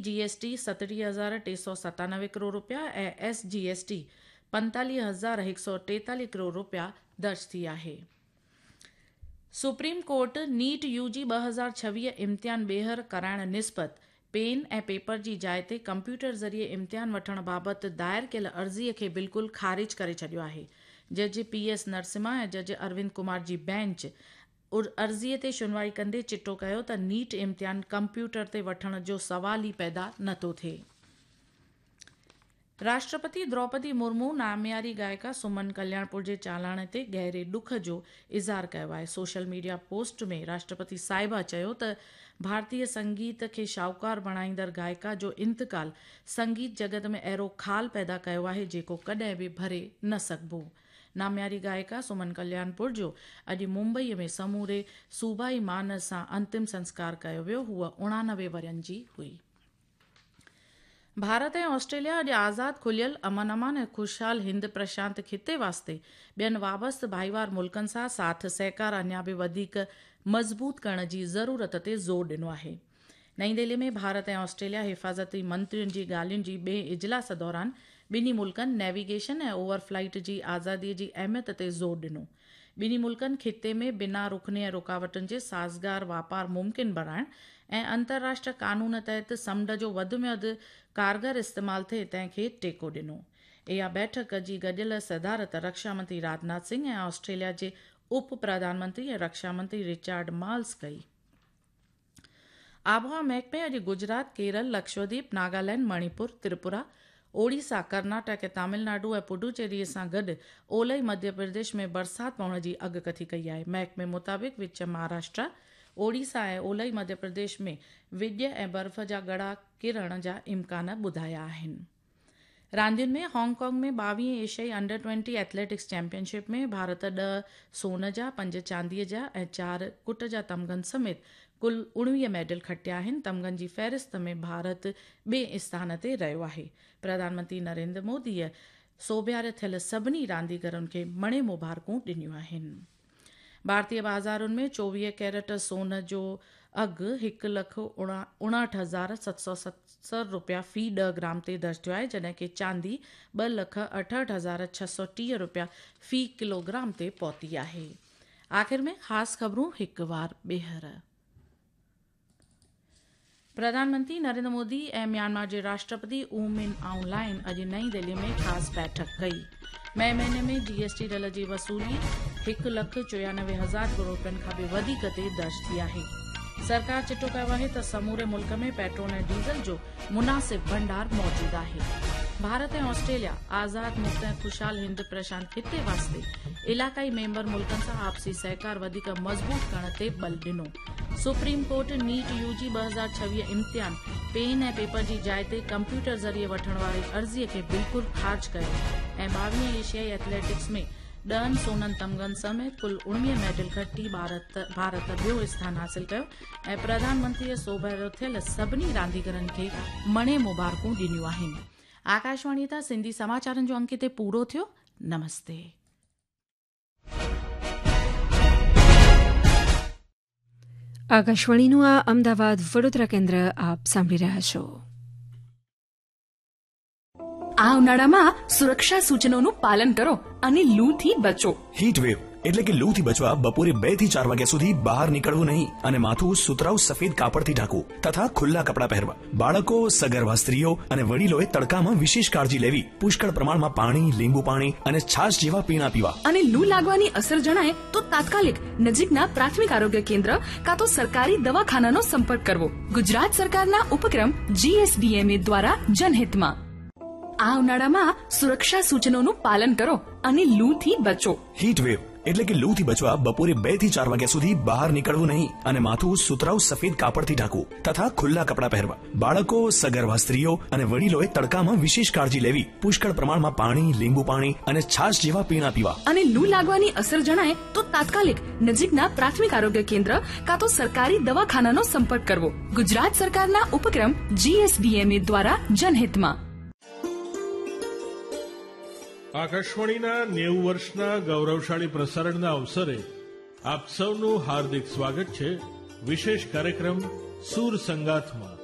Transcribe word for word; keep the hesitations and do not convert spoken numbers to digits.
جي S T ستٽيهه هزار ٽي سؤ ستانوي ڪروڙ رپيا ۽ ايس جي ايس ٽي پنتاليهه هزار هڪ سؤ ٽيتاليهه ڪروڙ رپيا درج ٿي آهي. سپريم ڪورٽ نيٽ يو جي ٻه هزار ڇويهه امتحان ٻيهر ڪرائڻ نسبت پين ۽ پيپر جي جاءِ تي ڪمپيوٽر ذريعي امتحان وٺڻ بابت دائر ڪيل عرضي کي بلڪل خارج ڪري ڇڏيو آهي. جج پي ايس نرسمها ۽ جج اروند ڪمار جي بينچ عرضي تي شنوائي ڪندي چٽو ڪيو ته نيٽ امتحان ڪمپيوٽر تي وٺڻ جو سوال ئي پيدا نٿو ٿئي. راشٽرپتي دروپدي مرمو نامياري گائڪا سمن ڪلياڻپور جي چالاڻي تي گهري ڏک جو اظهار ڪيو آهي. سوشل ميڊيا پوسٽ ۾ راشٽرپتي صاحبه چيو ته ڀارتيه سنگيت کي شاهوڪار بڻائيندڙ گائڪا جو انتقال سنگيت جڳت ۾ اهڙو خال پيدا ڪيو آهي جيڪو ڪڏهن به ڀري نه سگهبو. نامياري گائڪا سمن ڪلياڻپور جو اڄ ممبئي ۾ سموري صوبائي مان سان انتم سنسڪار ڪيو ويو. هوءَ اڻانوي ورهين جي هئي. ڀارت ۽ آسٽريليا اڄ آزاد، کليل، امن امان ۽ خوشحال هند پرشانت خطي واسطي ٻين وابسته ڀائيوار ملڪن سان ساٿ سهڪار اڃا به وڌيڪ مضبوط ڪرڻ جي ضرورت تي زور ڏنو آهي. نئين دهلي ۾ ڀارت ۽ آسٽريليا حفاظتي منترين جي ڳالهين جي ٻئي اجلاس دوران ٻنهي ملڪن نيويگيشن ۽ اوور فلائيٽ جي آزادي جي اهميت تي زور ڏنو. ٻنهي ملڪن خطي ۾ بنا رڪني ۽ رڪاوٽن جي سازگار واپار ممڪن بڻائڻ ۽ انترراشٽر قانون تحت سمنڊ جو وڌ ۾ وڌ ڪارگر استعمال ٿئي تنهن کي ٽيڪو ڏنو. اها بيٺڪ جي گڏيل صدارت رڪشا منتري راجناٿ سنگهه ۽ آسٽريليا جي اپ پرڌان منتري ۽ رڪشا منتري رچارڊ مالز ڪئي. آبهوا محڪمي اڄ گجرات، ڪيرل، لڪشدويپ، ناگالينڊ، مڻيپور، تريپورا، اوڙيسا، ڪرناٽڪ ۽ تامل ناڊو ۽ پڊوچيري سان گڏ اولهي مڌيه پرديش ۾ برسات پوڻ جي اڳڪٿي ڪئي آهي. محڪمي مطابق وچ مهاراشٽر، اوڙيسا ۽ اولهي مڌيه پرديش ۾ وڄ ۽ برف جا ڳڙا ڪرڻ جا امڪان ٻڌايا آهن. راندين ۾ هانگ ڪانگ ۾ ٻاويهين ايشيائي under twenty athletics champion ship ۾ Bharat ڏهه سون جا، پنج چانديءَ جا ۽ چار ڪٽ جا تمغن سميت ڪل اڻويهه ميڊل کٽيا آهن. تمغن جي فهرست ۾ ڀارت ٻئي اسٿان تي رهيو آهي. پرڌان منتري نريندر موديءَ سوڀياري ٿيل سڀني رانديگرن کي مڻي مبارڪون ڏنيون آهن. ڀارتيه بازارن ۾ چوويهه ڪيرٽ سون جو اگهه هڪ لک اڻهٺ هزار ست سؤ ستر رپيا في ڏهه گرام تي درج ٿيو آهي، جڏهن ڪه چاندي ٻه لک اٺهٺ هزار ڇهه سؤ ٽيهه رپيا في ڪلوگرام تي پهتي آهي. آخر ۾ خاص خبرون هڪ وار ٻيهر. پرڌان منتري نريندر مودي ۽ ميانمار جي راشٽرپتي او من آئون لائن اڄ نئين دهلي ۾ خاص بيٺڪ ڪئي. مئي مهيني ۾ جي ايس ٽي ڍل جي وصولي هڪ لک چويانوي هزار ڪروڙ رپين کان به وڌيڪ تي درج ٿي آهي. سرڪار چٽو ڪيو آهي ته سموري ملڪ ۾ پيٽرول ۽ ڊيزل جو مناسب ڀنڊار موجود آهي. ڀارت ۽ آسٽريليا آزاد، مڪت ۽ خوشحال هند پرشانت خطي واسطي علائقائي ميمبر ملڪن سان آپسي سهڪار وڌيڪ مضبوط ڪرڻ تي ٻل ڏنو. سپريم ڪورٽ نيٽ يو جي ٻه هزار ڇويهه امتحان پين ۽ پيپر جي جاءِ تي ڪمپيوٽر ذريعي وٺڻ واري عرضي کي بلڪل خارج ڪيو ۽ ٻاويهين ايشيائي ايٿليٽڪس ۾ ڏهن سونن تمغن سميت ڪل اڻويهه ميڊل کٽي ڀارت ڀارت ٻيو اسٿان حاصل ڪيو ۽ پرڌان منتريءَ سوڀيارو ٿيل سڀني رانديگرن کي مڻي مبارڪون ڏنيون آهن. آڪاشواڻي تان سنڌي سماچارن جو انڪ هتي پورو ٿيو. نمستي. આકાશવાણીનું આ અમદાવાદ વડોદરા કેન્દ્ર આપ સાંભળી રહ્યા છો. આ ઉનાળામાં સુરક્ષા સૂચનોનું પાલન કરો અને લૂથી બચો. હીટ વેવ એટલે કે લૂથી બચવા બપોરે બે થી ચાર વાગ્યા સુધી બહાર નીકળવું નહીં અને માથું સુતરાઉ સફેદ કાપડથી ઢાંકવું તથા ખુલ્લા કપડાં પહેરવા. બાળકો, સગર્ભા સ્ત્રીઓ અને વડીલોએ તડકામાં વિશેષ કાળજી લેવી. પુષ્કળ પ્રમાણમાં પાણી, લીંબુ પાણી અને છાશ જેવા પીણા પીવા. અને લૂ લાગવાની અસર જણાય તો તાત્કાલિક નજીકના પ્રાથમિક આરોગ્ય કેન્દ્ર કાં તો સરકારી દવાખાનાનો સંપર્ક કરવો. ગુજરાત સરકારના ઉપક્રમ જીએસડીએમએ દ્વારા જનહિતમાં. આ ઉનાળામાં સુરક્ષા સૂચનોનું પાલન કરો અને લૂથી બચો. હીટ વેવ એટલે કે લૂથી બચવા બપોરે બે થી ચાર વાગ્યા સુધી બહાર નીકળવું નહીં અને માથું સુતરાઉ સફેદ કાપડથી ઢાંકવું તથા ખુલ્લા કપડાં પહેરવા. બાળકો, સગર્ભા સ્ત્રીઓ અને વડીલોએ તડકામાં વિશેષ કાળજી લેવી. પુષ્કળ પ્રમાણમાં પાણી, લીંબુ પાણી અને છાશ જેવા પીણા પીવા. અને લૂ લાગવાની અસર જણાય તો તાત્કાલિક નજીકના પ્રાથમિક આરોગ્ય કેન્દ્ર કાં તો સરકારી દવાખાનાનો સંપર્ક કરવો. ગુજરાત સરકારના ઉપક્રમ જીએસડીએમએ દ્વારા જનહિતમાં. આકાશવાણીના નેવું વર્ષના ગૌરવશાળી પ્રસારણના અવસરે આપ સૌનું હાર્દિક સ્વાગત છે વિશેષ કાર્યક્રમ સુર સંગાથમાં.